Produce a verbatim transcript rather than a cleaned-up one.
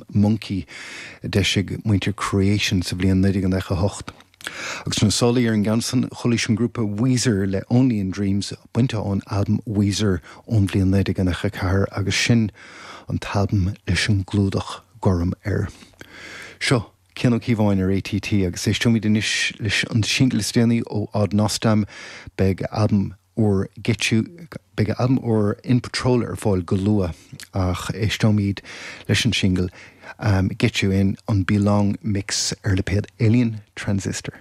albam Munky a d'eisigh muintir Creation sa bhliain naoi déag nócha hocht. Agus na solaí ar an gceann san chualaís an grúpa Weezer le Only in Dreams bainte ón albam Weezer ón bhliain naoi déag nócha ceathair agus sin an t-albam leis an gclúdach gorm air. Seo Cian Ó Cíobháin ar ATT agus éisteoimid anois leis an singil is déanaí ó Odd Nosdam beidh albam úr Get You beidh albam úr In Patrol ar fáil go luath ach éisteoimid leis an singil um, Get You In an Belong mix ar lipéad Alien Transistor.